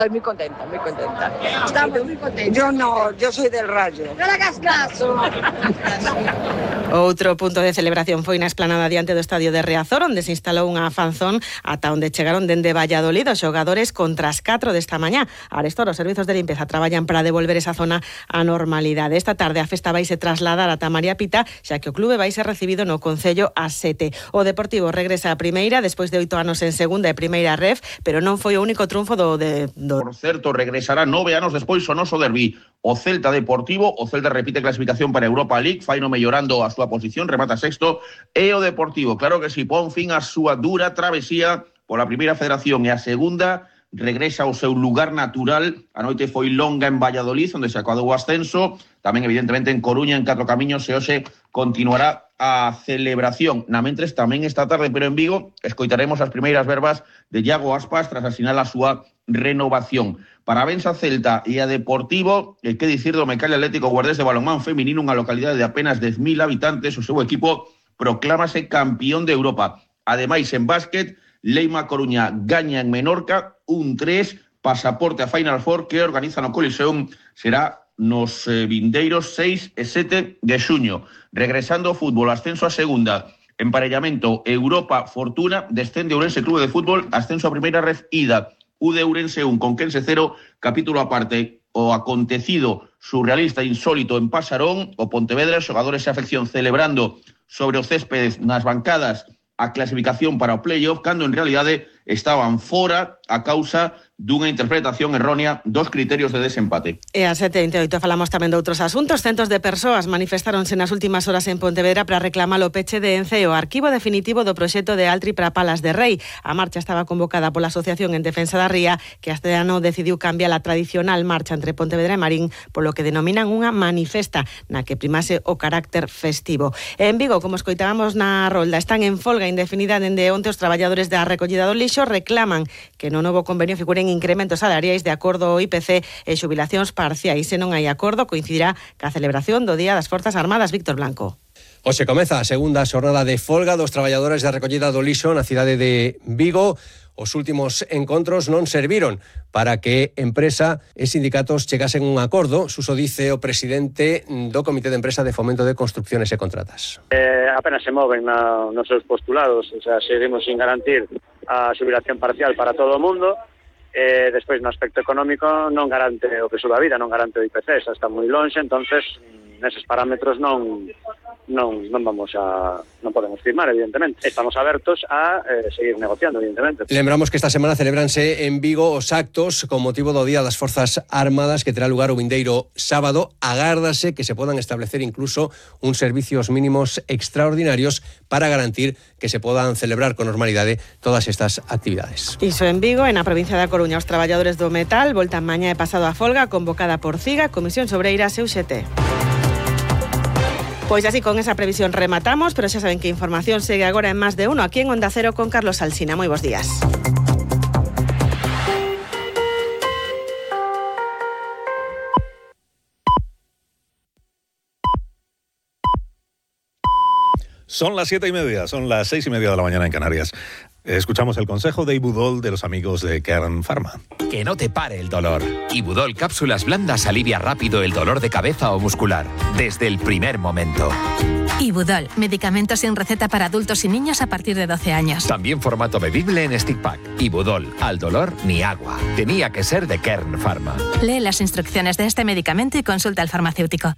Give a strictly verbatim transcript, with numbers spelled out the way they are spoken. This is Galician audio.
Estoy muy contenta, muy contenta. Estamos muy contentos. Yo no, yo soy del Rayo. ¡No le hagas caso! Outro punto de celebración foi na esplanada diante do estadio de Riazor, onde se instalou unha fanzón ata onde chegaron dende Valladolid os xogadores contra as catro desta mañá. Arestor, os servizos de limpeza traballan para devolver esa zona á normalidade. Esta tarde a festa vaise trasladar ata María Pita, xa que o clube vai ser recibido no Concello ás sete. O Deportivo regresa a primeira despois de oito anos en segunda e primeira ref, pero non foi o único triunfo do... De, do... Por certo, regresará nove anos despois o noso derbi. O Celta Deportivo, o Celta repite clasificación para Europa League, faino mellorando a súa posición, remata sexto, e o Deportivo, claro que si, pon fin a súa dura travesía pola primeira federación e a segunda, regresa ao seu lugar natural. A noite foi longa en Valladolid, onde se acabou o ascenso, tamén evidentemente en Coruña, en Catro Camiños, e hoxe continuará a celebración. Na mentres, tamén esta tarde, pero en Vigo, escoitaremos as primeiras verbas de Iago Aspas tras asinar a súa renovación. Parabéns a Celta e a Deportivo, e que dicir do Mecalia Atlético Guardés de balonmán feminino, unha localidade de apenas dez mil habitantes, o seu equipo proclámase campeón de Europa. Ademais, en básquet, Leima Coruña gaña en Menorca un tres, pasaporte a Final Four que organiza no Coliseum, será nos eh, vindeiros seis e sete de xuño. Regresando ao fútbol, ascenso a segunda, emparellamento Europa Fortuna, descende Ourense Clube de Fútbol, ascenso a primeira ref ida, U de Ourense un, Conquense cero, capítulo aparte, o acontecido surrealista insólito en Pasarón, o Pontevedra, xogadores e afección celebrando sobre o césped nas bancadas a clasificación para o playoff, cando en realidade estaban fora a causa dunha interpretación errónea dos criterios de desempate. E a sete e vinte e oito falamos tamén de outros asuntos. Centos de persoas manifestaronse nas últimas horas en Pontevedra para reclamar o peche de Ence e o arquivo definitivo do proxecto de Altri para Palas de Rei. A marcha estaba convocada pola Asociación en Defensa da Ría, que este ano decidiu cambiar a tradicional marcha entre Pontevedra e Marín, polo que denominan unha manifesta, na que primase o carácter festivo. E en Vigo, como escoitábamos na rolda, están en folga indefinida dende onte os traballadores da recollida do lixo, reclaman que no novo convenio figuren incrementos salariais de acordo ao I P C e xubilacións parciais. Se non hai acordo, coincidirá ca celebración do Día das Forzas Armadas. Víctor Blanco. Hoxe comeza a segunda xornada de folga dos traballadores da recollida do lixo na cidade de Vigo. Os últimos encontros non serviron para que empresa e sindicatos chegasen a un acordo. Suso dice o presidente do Comité de Empresa de Fomento de Construcciones e Contratas. Eh, apenas se moven na, nos seus postulados, o sea, seguimos sin garantir a xubilación parcial para todo o mundo. Eh, despois, no aspecto económico, non garante o preço da vida, non garante o I P C, xa está moi longe, entonces neses parámetros non non non vamos a non podemos firmar, evidentemente. Estamos abertos a eh, seguir negociando, evidentemente. Lembramos que esta semana celebranse en Vigo os actos con motivo do Día das Forzas Armadas, que terá lugar o vindeiro sábado. Agárdase que se podan establecer incluso uns servicios mínimos extraordinarios para garantir que se podan celebrar con normalidade todas estas actividades. Iso en Vigo, e na provincia da Coruña, os traballadores do metal voltan mañá e pasado a folga convocada por CIGA, Comisión Sobreiras e U X T. Pois así, con esa previsión rematamos, pero xa saben que a información segue agora en Más de Uno, aquí en Onda Cero con Carlos Alsina. Moi bons días. Son las siete y media, son las seis y media de la mañana en Canarias. Escuchamos el consejo de Ibudol de los amigos de Kern Pharma. Que no te pare el dolor. Ibudol Cápsulas Blandas alivia rápido el dolor de cabeza o muscular, desde el primer momento. Ibudol, medicamentos sin receta para adultos y niños a partir de doce años. También formato bebible en stick pack. Ibudol, al dolor ni agua. Tenía que ser de Kern Pharma. Lee las instrucciones de este medicamento y consulta al farmacéutico.